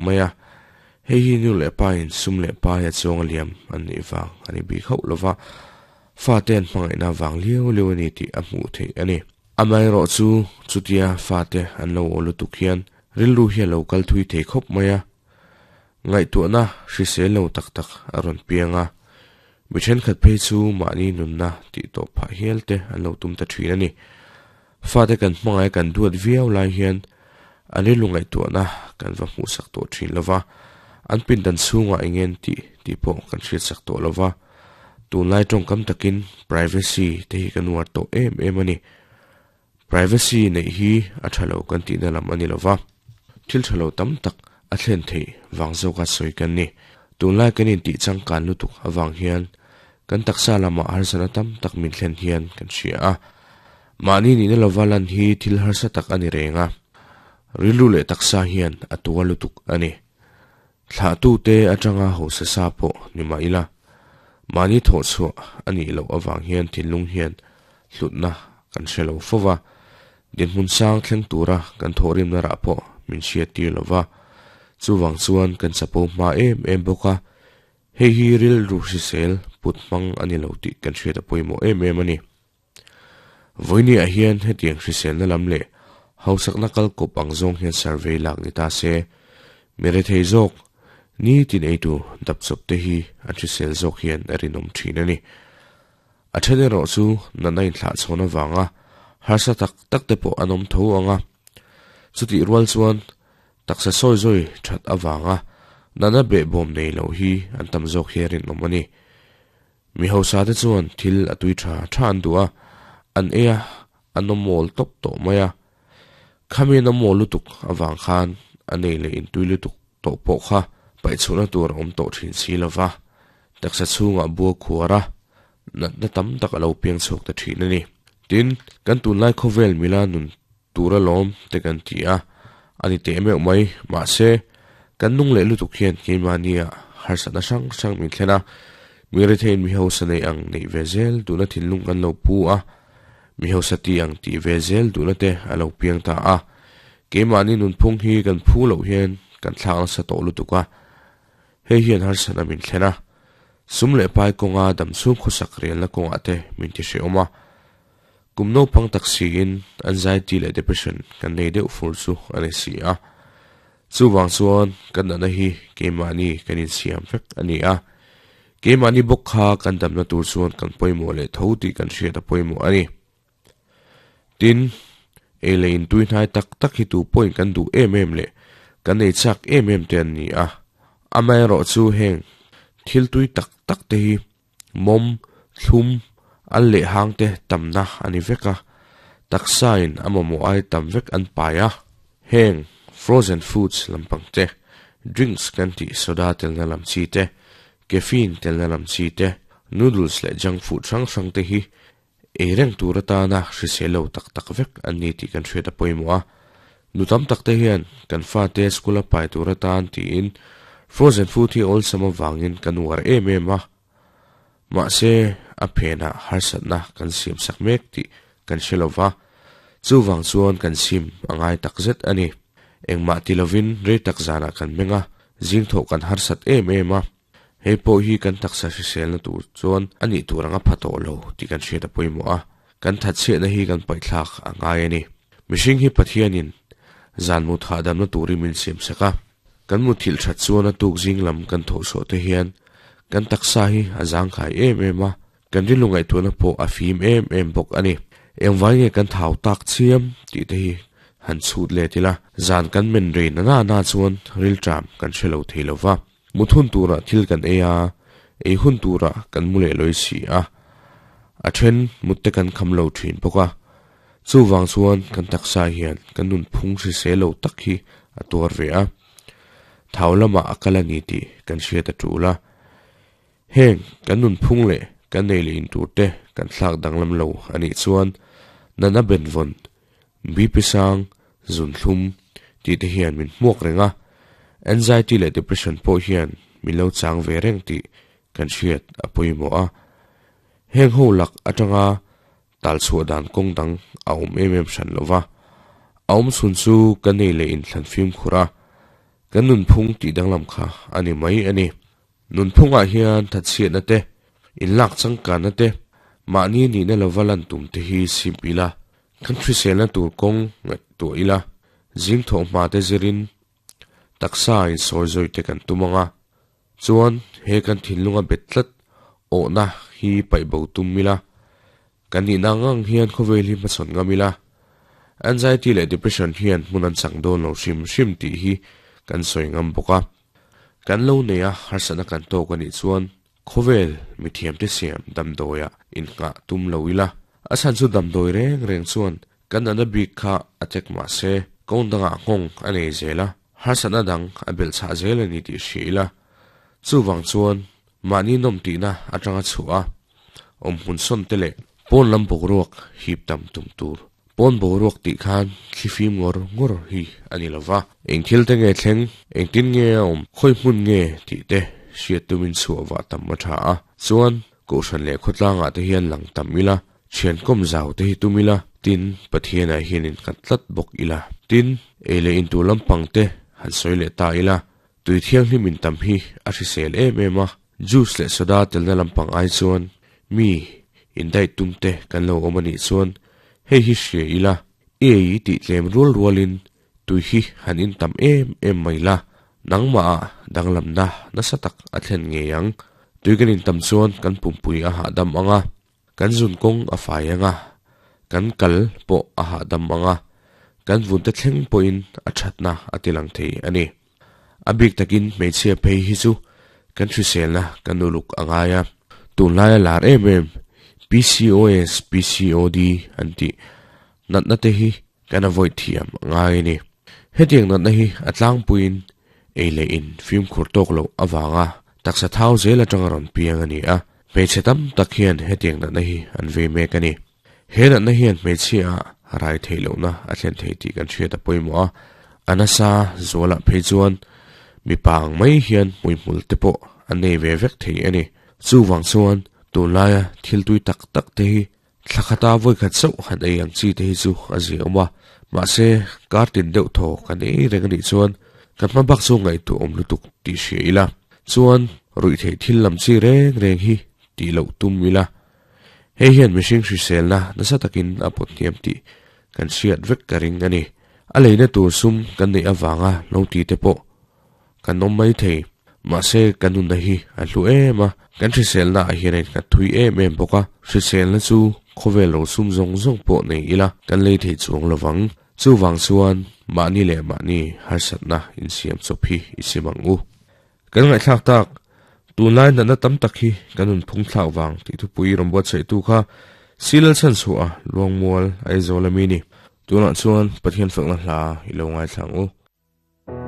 mai a. Hei hi nu leh pa in sum leh pai a chuang a liam an nih vang a ni bik hauh lova, fate an hmangaihna vang liau liau a ni tih a hmuh theih a ni. Amaherawhchu chutia fate an lo aw lutuk hian rilru hi a lo kal thui thei khawp mai a, ngaihtuahna hrisel lo tak tak a rawn piang a, mi thenkhat phei chu mahni nunna tih tawh phah hial te an lo tum ta thin a ni. Fate kan hmangaih kan duat viau lai hian an rilru ngaihtuahna kan va hmuhsak tawh thin lo va, an pindan chhungah eng nge tih tih pawh kan hriatsak tawh lo va. Tunlai tawngkam takin privacy te hi kan uar tawh em em a ni. Privacy neih hi a tha lo kan tihna lam a ni lo va, thil tha lo tam tak a thlen theih vang zawka sawi kan ni. Tunlai kan intih changkan lutuk avang hian kan taksa lamah harsatna tam tak min thlen hian kan hria a. Mahni nihna lova lan hi thil harsa tak a ni reng a, rilru leh taksa hian a tua lutuk a ni. Thlahtute atanga hausa sa pawh ni mah ila, mahni thawhchhuah a nih loh avang hian thinlung hian hlutna kan hre lo fo va, dinhmun sang thleng tura kan thawhrimna rah pawh min hriattir lo va, chuvang chuan kan chapo hma em em bawk a, hei hi rilru hrisel put hmang a ni lo tih kan hriat a pawimawh em em a ni. Vawinia hian hetiang hriselna lam leh hausakna kal kawp ang zawng hian survey lak ni ta se, mi rethei zawk nitin eitu dapchawp te hi an hrisel zawk hian a rinawm thin a ni. A then erawh chu natna inthlahchhawn avanga harsa tak tak te pawh an awm tho ang a, chutih rual chuan taksa sawi zawi that avanga natna behbawm nei lo hi an tam zawk hi a rinawm a ni. Mi hausa te chuan thil a tui tha tha an duh a, an ei a, an awm mawl tawp tawh mai a. Khami an awm mawl lutuk avang khan a nei leh intui lutuk tawh pawh kha paihchhuahna tur a awm tawh thin si lo va, taksa chhungah bua khuar a, natna tam tak a lo piang chhuak ta thin a ni. Tin, kan tunlai khawvel mila nun tur alawm te kan ti a, a ni teh meuh mai. Mahse, kan nung leh lutuk hian keimahnia harsatna hrang hrang min thlen a, mi retheiin mi hausa nei ang neih ve zel duhna thinlung kan lo pu a, mi hausa ti ang tih ve zel duhna te a lo piang ta a. Keimahni nunphung hi kan phu loh hian kan thlak nasa tawh lutuk a, hei hian harsatna min thlen a, sum leh pai kawnga damchhung khawsak relna kawngah te min ti hrehawm a. Kum naupang tak siin anxiety leh depression kan nei deuh fur chu a ni si a. Chuvang chuan kan natna hi keimahni kan insiam vek a ni a. Keimahni bawk kha kan damna tur chuan kan pawimawh leh tho tih kan hriat a pawimawh a ni. Tin, ei leh intui hnai tak tak hi tu pawhin kan duh em em leh kan ei chak em em te an ni a. Amaherawhchu heng thil tui tak tak te hi Mawm, thlum, al leh hang te tamna a ni vek a, taksa in a mamawh ai tam vek an pai a. Heng frozen foods lampang te, drinks kan tih soda telna lam chi te, caffeine telna lam chi te, noodles leh junk food hrang hrang te hi ei reng tur atana hrisel lo tak tak vek an ni tih kan hriat a pawimawh a. Nu tam tak te hian kan fate school a pai tur atan tiin frozen food hi awlsam avangin kan uar em em a. Mahse, a phenah harsatna kan siamsak mek tih kan hre lo va, chuvang chuan kan sim a ngai takzet a ni. Engmah ti lovin rei tak zanah kan meng a, zing thawh kan harsat em em a. Hei pawh hi kan taksa hriselna tur chuan a nih tur anga pha tawh lo tih kan hriat a pawimawh a, kan thatchhiatna hi kan paihthlak a ngai a ni. Mihring hi Pathianin zan mut hahdamna turin min siamsak a, kan muthilh that chuan a tuk zing lam kan thawhchhuah te hian kan taksa hi a zangkhai em em a, kan rilru ngaihtuahna pawh a fim em em bawk a ni. Engvai nge kan thau tak chiam tih te hi han chhut let ila, zan kan men rei na na na chuan rilṭam kan hre lo thei lo va. Mut hun turah thil kan ei a, ei hun turah kan mu leh lawi si a, a then mut te kan kham lo thin bawk a. Chuvang chuan kan taksa hian kan nunphung hrisel lo tak hi a tuar ve a, thau lamah a kal a ni tih kan hriat a tul a. Heng kan nunphung leh kan ei leh in tur te kan thlak danglam lo a nih chuan natna benvawn, BP sang, zunthlum tih te hian min hmuak reng a, anxiety leh depression pawh hian min lo chang ve reng tih kan hriat a pawimawh a. Heng ho lak atanga tal chhuah dan kawng dang a awm em em hran lo va, a awm chhun chu ka nei leh inthlan fimkhur a. Kan nunphung tih danglam kha a ni mai a ni. Nunphungah hian thatchhiatna te, inlak changkanna te, mahni nihna lova lan tum te hi sim ila, kan hriselna tur kawng ngaihtuah ila, zing thawhhma te zirin taksa insawi zawih te kan tum ang a, chuan he kan thinlunga bet tlat awhna hi paih bo tum ila, kan nihna ang ang hian khawvel hi hmachhawn ngam ila, anxiety leh depression hian hmun an chang dawn lo hrim hrim tih hi kan sawi ngam bawk a. Kan lo nei a, harsatna kan tawk a nih chuan khawvel mithiamte siam damdawiah innghah tum lo ila, a chhan chu damdawi reng reng chuan kan natna bik kha a tek mah se, kawng dangah nghawng a nei zel a, harsatna dang a belh chhah zel a ni tih hria ila. Chuvang chuan mahni nawm tihna atanga chhuah a, awmhmun sawn te leh pawn lam boruak hip tam tum tur. Pawn boruak tih khan thlifim ngawr ngawr hi a ni lo va. Eng thil te nge thleng, engtin nge a awm, khawi hmun nge tih te hriat tumin chhuah vah tam a tha a. Chuan, Kohhran leh khawtlangah te hian lang tam ila, thian kawm zau te hi tum ila, tin, Pathianah hian innghat tlat bawk ila. Tin, ei leh intur lampang te han sawi leh ta ila, tui thianghlim in tam hi a hrisel em em a, juice leh soda telna lampang ai chuan mi indaih tum te kan lo awm a nih chuan hei hi hria ila, i ei tih tlem rual rualin Tui hi han in tam em em mai la, nangmah ah danglamna nasa tak a thlen ngei ang. Tui kan in tam chuan kan pumpui a hahdam ang a, kan zun kawng a fai ang a, kan kal pawh a hahdam ang a, kan vunte thleng pawhin a thatna a ti lang thei a ni. A bik takin hmeichhia phei hi chu kan hriselna kan uluk a ngai a, tunlaia lar em em PCOS, PCOD an tih natna te hi Kan avoid thiam a ngai a ni. Hetiang natna hi a tlangpuiin ei leh in fimkhur tawk loh avanga taksa thau zel atanga rawn piang a ni a, hmeichhe tam tak hian hetiang natna hi an vei mek a ni. He natna hian hmeichhia ah rai theih lohna a thlen thei tih kan hriat a pawimawh a, a nasa zualah phei chuan mipa ang mai hian hmuihmul te pawh an nei ve vek thei a ni. Chuvang chuan tunlaia thil tui tak tak te hi Thla khata vawikhat chauh han ei ang chi te hi chu a zia awm a, mahse kar tin deuh thaw kan ei reng anih chuan kan hma bak chu ngaihtuah awm lutuk tih hria ila, chuan ruih theih thil lam chi reng reng hi tih loh tum ila, hei hian mihring hriselna nasa takin a pawt hniam tih kan hriat vek ka ring a ni. A leina tur sum kan neih avanga lo ti te pawh Kan awm mai thei. Mahse, kan nunna hi a hlu em a, kan hriselna ah hian a innghat thui em em bawk a, hriselna chu khawvel ro sum zawng zawng pawh nei ila kan lei thei chuang lo vang. Chuvang chuan mahni leh mahni harsatna insiam chawp hi i sim ang u. Kan ngaihthlak tak, tunlai natna tam tak hi kan nunphung thlak vang tih thupui rawn buatsaihtu kha Silal Chhanchhuah Luangmual Aizawl ami ni. Tunah chuan Pathian fakna hla i lo ngaithla ang u.